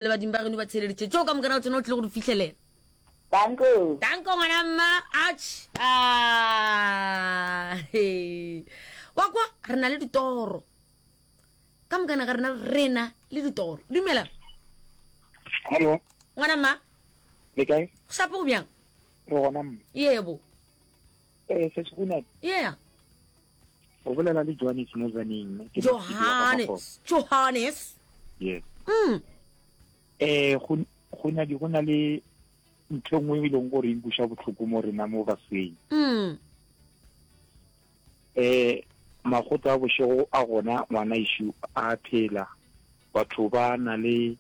Le badimo ba geno ba theeleditše tšeo ka moka na tsona o tlile go di fihlelela. Danko. Danko ngwana mma. Atšh. Ah. He. Wa kwa re na le ditoro. Ka moka na ga rena re na le ditoro. Dumela. Hello. Ngwana mma. Le kae? Go shapo go bjang? Re gona mma. Yebo. Eh, se se gona. Yeah. O bolela le Johannes mo Zaneng. Johannes. Johannes. Yes. Mm. Eh go go na di go na le ntho e nngwe e leng gore e nkuša botlhoko mo rena mo basweng. Mm. Eh makgotla a bošego a gona ngwana išu a phela batho ba na le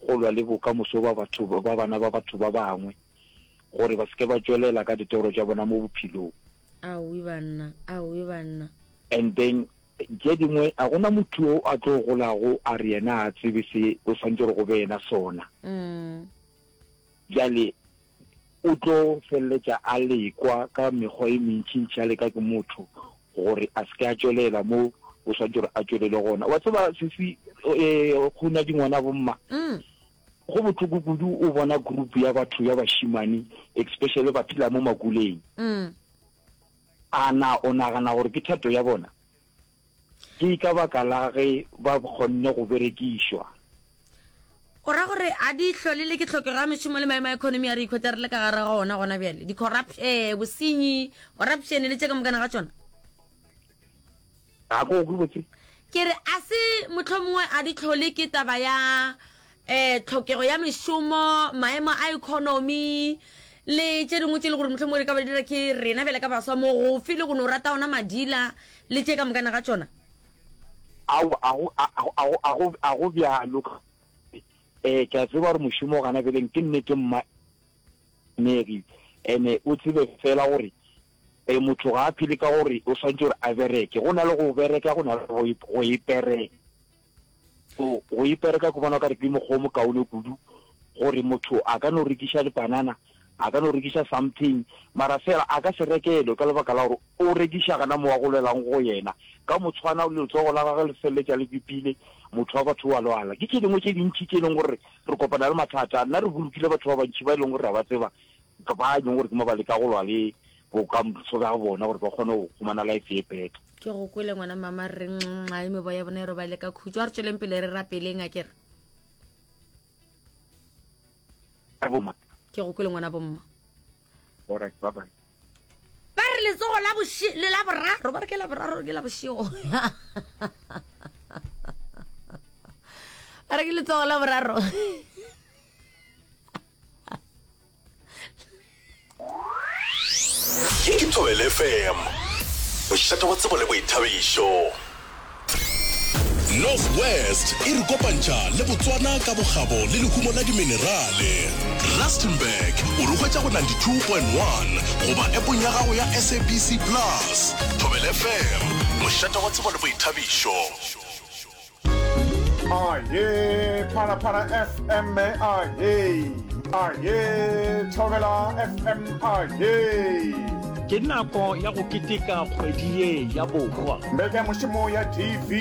go lwa le bokamoso ba batho ba bana ba batho ba bangwe gore ba seke ba tšwelela ka ditoro tša bona mo bophelong. Aowi banna, aowi banna. And then tše dingwe a gona motho yo a tlo golago a re yena a tsebe se o swantse gore go be yena sona. Mm. Bjale o tlo feleletša a lekwa ka mekgwa e mentšintši a leka ke motho gore a se ke a tšwelela mo o swantse gore a tšwelele gona. Wa tseba sesi um go na dingwana bomma. Mm. Go bohloko kudu o bona group ya batho ya bašimane especially ba phela mo makuleng. Mm. A na o nagana gore ke thato ya bona? Ke ka baka la ge ba kgonne go berekišwa. O ra gore a di hlole le ke tlhokego ya mešomo le maemo a economy a re ikhwetša re le ka gare ga ona gona bjale? Di-corrupt, eh, bosenyi, corruption le tše ka mokana ga tšona? Ga ko kwe botse. Ke re a se mohlomongwe a di hlole ke taba ya um tlhokego ya mešomo, maemo a economy le tše dingwe tše le gore mohlomongwe di ka ba di dira ke rena bjale ka baswa mogofi le go no rata ona madila le tše ka mokana ga tšona. Ao, a go, a, a, a go, a go, a go bjalo. Eh, ke a tseba gore mošomo gana bjeleng ke nnete mma Mary, ene o tsebe fela gore Ee, motho ga a phele ka gore o swanetše gore a bereke. Go na le go bereka, go na le go go ipereka. So, go ipereka ke bona o ka re ke mokgwa o mokaone kudu gore motho a ka no rekiša dipanana, a ka no rekiša something, mara fela a ka se rekelwe ka lebaka la gore o rekiša gana mo a golelang go yena. Ka motshwana letsogo la gagwe le feleletša le pipile, motho wa batho o a lwala. Ke tše dingwe tše dintši tše e leng gore re kopana le mathata. Nna re bolokile batho ba bantši ba e leng gore re a ba tseba Ba e leng gore ke mo ba leka go lwa le bokamoso bja bona gore ba kgone go humana life e better. Ke go kwele ngwana mama re nxa meboya ya bona e robale ka khutšo. A re tšweleng pele re rapeleng a kere. Bomma. Ke go kwele ngwana bomma. All right, bye bye. Ba re letsogo la boši le la boraro ba re ke la boraro ke la bošego. Ba re ke letsogo la boraro. Ye ke Thobela FM, mošate wa tsebo le boithabišo. North West e re kopantšha le Botswana ka bokgabo le lehumo la diminerale. Rustenburg o re hwetša go 92.1 goba appong ya gago ya SABC Plus. Thobela FM, mošate wa tsebo le boithabišo. Aye, Phalaphala FM, aye. Aye, Thobela FM, aye. Ke nako ya go keteka kgwedi ye ya bohwa. Mbekanyamošomo ya DV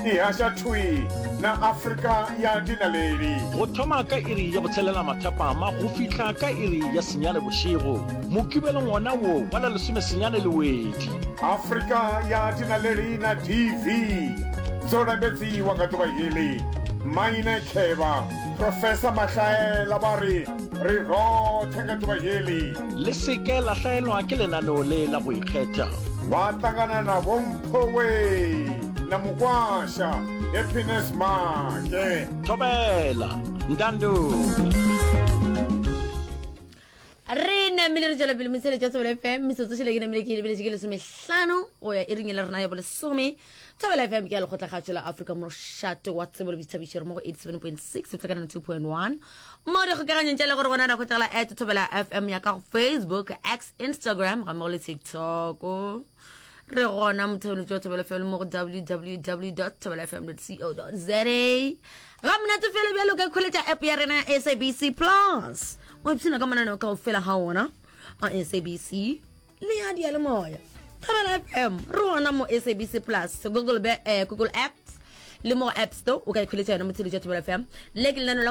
e haša thwi na Afrika ya dinaledi. Go thoma ka iri ya botshelela mathapama go fihla ka iri ya senyane bošego, Mokibelong wona wo wa la lesomesenyane Lewedi. Afrika ya dinaledi na DV dzo lambedziwa nga ḓuvha heḽi. Maine Khevha, Professor Mahlaela vha ri, Ri roṱhe nga ḓuvha heḽi. Le se ke la hlaelwa ke lenaneo le la go ikgetha. Vha ṱangana na Vho Mphowei na Mukwasha, Happiness Maake. Thobela, Ntando. Re namile re tšwela pele motsheletšo wa Thobela FM metsotso šele ke namile ke lebeletše ke lesomehlano go ya iring e le rena ya bolesome. Thobela FM ke ya lekgotlakgatšo la Afrika mošate wa tsebo le boithabišo re mo go 87.6 go tlhakana 2.1 mo dikgokaganyong tša le gore gona ra hwetšagala at Thobela FM ya ka go Facebook, X, Instagram ga mmogo le TikTok. Re gona motheeletši wa Thobela FM mo go www thobelafm co za. Ga monate fela bjalo ka khweletša app ya rena ya SABC Plus. O ipshina ka mananeo ka ofela ga ona a SABC le ya diyalemoya. Thobela FM re gona mo SABC Plus, Google, eh, Google Apps. Le mo go App Store o ka ikhweletša yona motheeletši wa Thobela FM. Le ke lenaneo la.